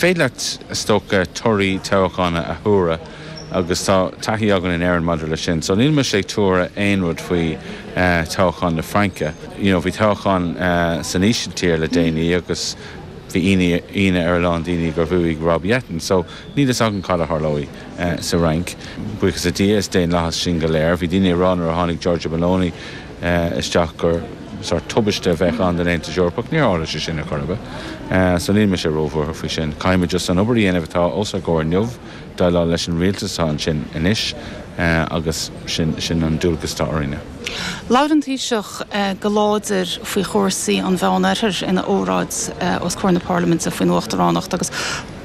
Féidir leat, is dócha, torthaí toghcháin a thuaradh agus tá taithí againn in Éirinn maidir leis sin. So níl mise ag tuaradh aon rud faoi toghchán na Fraince. You know, bhí toghchán san Ísiltír le déanaí agus bhí ionadh ar a lán daoine gur bhuaigh Rob Jetten. So níl fhios agam cad a tharlóidh sa Fhrainc. Buíochas le Dia, is daonlathas sinn go léir. Bhí daoine ag rá nuair a tháinig Giorgia Meloni isteach gur sórt tubaiste a bheadh ann don Aontas Eorpach. Níor tharla sé sin ar chor ar bith. So níl mise róbhuartha faoi sin. Caithfimid just an obair a dhéanamh atá os ár gcomhair inniu, déileáil leis an rialtas atá ansin anois agus sin sin an dualgas atá orainne. Labhair an Taoiseach go láidir faoi chúrsaí an Mheánoirthir ina óráid os comhair na Parlaiminte faoin Uachtaránacht agus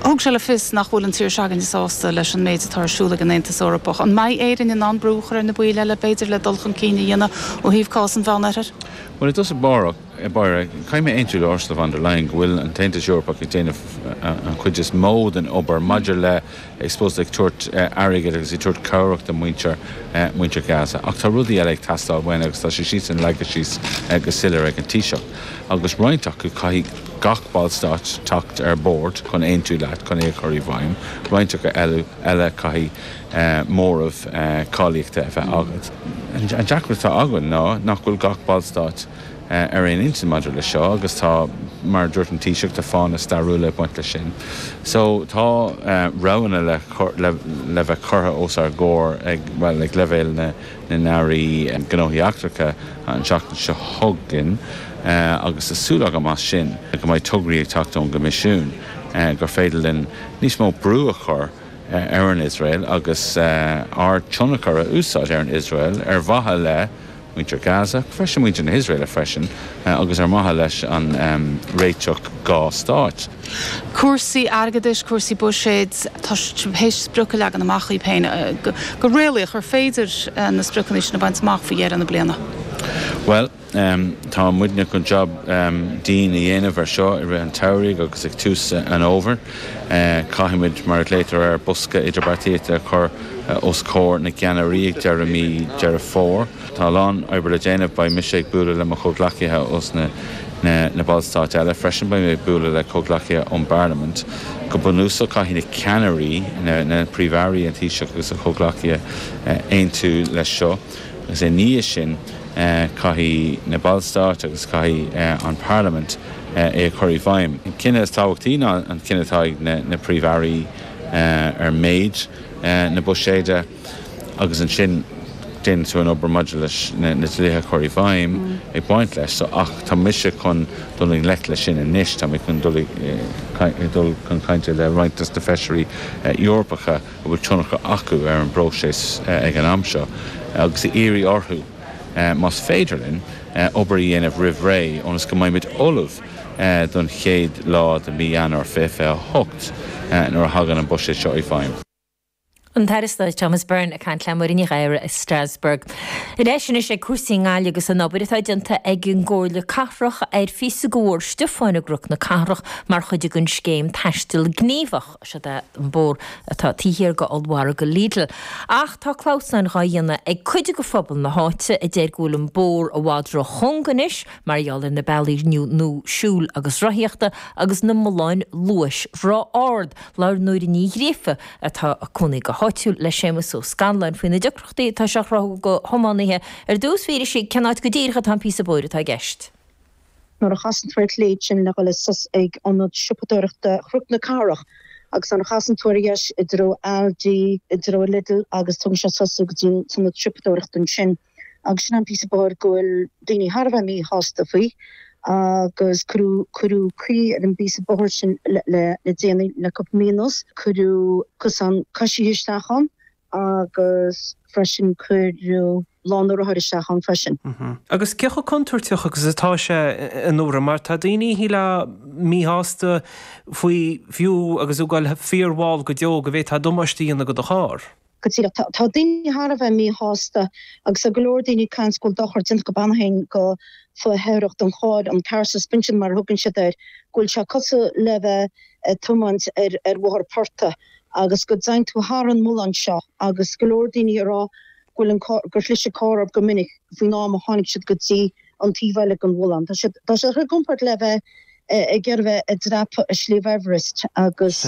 thug sé le fios nach bhfuil an tír s'againne sásta leis an méid atá ar siúl ag an Aontas Eorpach. An mbeidh Éirinn in ann brú a chur ar na baill eile, b'fhéidir, le dul chun cinn a dhéanamh ó thaobh cás an Mheánoirthir? Bhuel, i dtosach báire, caithfidh mé aontú le Ursula von der Leyen go bhfuil an tAontas Eorpach ag déanamh an chuid is mó den obair maidir le, I suppose, ag tabhairt airgid agus ag tabhairt cabhrach do mhuintir, muintir Gaza. Ach tá rudaí eile ag teastáil uainn agus tá sé sin leagtha síos go soiléir ag an Taoiseach. Agus roinnt acu, caithfidh gach ballstát teacht ar bord chun aontú leat chun é a chur i bhfeidhm. Roinnt acu eile, caithfidh móramh cáilíochta a bheith agat. An deacracht atá againn ná nach bhfuil gach ballstát ar aon intinn maidir leis seo agus tá, mar a dúirt an Taoiseach, tá fáthanna stairiúla ag baint leis sin. So tá roghanna le le bheith curtha os ár gcomhair ag, bhuel, ag leibhéal na n-airí gnóthaí eachtracha an tseachtain seo chugainn agus tá súil agam as sin go mbeidh tograí ag teacht ón gCoimisiún gur féidir linn níos mó brú a chur ar an Iosrael agus ár dtionchar a úsáid ar an Iosrael ar mhaithe le muintir Gaza, freisin muintir na hIosraeile freisin, agus ar mhaithe leis an réiteach dá stáit. Cúrsaí airgeadais, cúrsaí buiséid, tá sibh théis sprioc a leagan amach dhaoibh féin. Go réalaíoch, ar féidir na spriocanna sin a bhaint amach faoi dheireadh na bliana? Bhuel. Tá muidne chun jab dian a dhéanamh ar seo i rith an tsamhraidh agus ag tús an fhómhair. Caithfimid, mar a ghlaotar air, bosca idirbheartaíochta a chur os comhair na gceannairí ag deireadh mí Deireadh Fómhair. Tá a lán oibre le déanamh. Beidh mise ag bualadh le mo chomhghleacaithe ós na ballstáit eile freisin. Beidh mé ag bualadh le comhghleacaithe ón bParlaimint. Go bunúsach, caithfidh na ceannairí, na Príomh-Airí, an Taoiseach agus a chomhghleacaithe aontú leis seo. Agus i ndiaidh sin, caithfidh na Ballstáit agus caithfidh an Pharlaimint é a chur i bhfeidhm. An cinneadh is tábhachtaí ná an cinneadh atá ag na Príomh-Airí ar méid na buiséide agus ansin déanann tú an obair maidir leis na dlíthe a chur i bhfeidhm ag baint leis. So, ach tá mise chun dul i ngleic leis sin anois, tá mé chun dul dul chun cainte le roinnt dos na Feisirí Eorpacha a bhfuil tionchar acu ar an bpróiseas ag an am seo agus a iarraidh orthu, más féidir linn, obair a dhéanamh roimh ré ionas go mbeimid ullamh don chéad lá de mhí Eanáir 2028 nuair a thagann an buiséad seo i bhfeidhm. An tAire Stáit Thomas Byrne ag caint le Muireann Ní Ghadhra i Strasbourg. Ar ais anois ag cúrsaí i nGaillimh agus an obair atá déanta ag an gComhairle Cathrach ar phíosa de Bhóthar Stiofáin i gCnoc na Cathrach mar chuid den scéim Taisteal Gníomhach. Seod é an bóthar atá taobh thiar de ollmhargadh Lidl. Ach tá clamhsáin dhá dhéanamh ag cuid de phobal na háite a deir go bhfuil an bóthar i bhfad ro-chúng anois mar gheall ar na bealaí nua siúil agus rothaíochta agus na mulláin luais ró-ard. Labhair Nóra Ní Ghríofa, atá ag cónaí go háitiúil, le Séamus Ó Scanláin faoi na deacrachtaí atá sé a chruthú do thiománaithe. Ar dtús, fiafraíonn sí cén áit go díreach atá an píosa bóthair atá i gceist. Nuair a chasann tú ar chlé ansin le dhul suas ag ionad siopadóireachta Chnoc na Cathrach agus nuair a chasann tú ar dheis i dtreo Aldi, i dtreo Lidl agus tugann sé suas tú go dtí an t-ionad siopadóireachta ansin agus sin an píosa bóthair go bhfuil daoine thar a bheith míshásta faoi agus cuireadh cuireadh caoi ar an bpíosa bóthair sin le le déanaí le cúpla mí anuas. Cuireadh cosán coisithe isteach ann agus freisin cuireadh lána rothar isteach ann freisin. Agus cé chomh contúirteach agus atá sé a Nóra, mar tá daoine shílfeá míshásta faoi fiú agus tú ag goil fíormhall go deo go bhféadfá damáiste a dhéanamh go do charr. Go díreach. Tá daoine thar a bheith míshásta agus tá go leor daoine ag caint go bhfuil dochar déanta go beannaithe go faitheoireacht an chairr, an car suspension mar a thugann siad air, go bhfuil sé cosúil le bheith ag tiomáint ar ar bhóthar portaigh agus go dtéann tú thar an mullán seo agus go leor daoine ag rá go bhfuil an carr, gur chlis an carr orthu go minic faoin am a tháinig siad go dtí an taobh eile den mhullán. Tá siad, tá sé i gcomparáid le bheith. Ag iarraidh bheith ag dreapadh Sliabh Everest agus.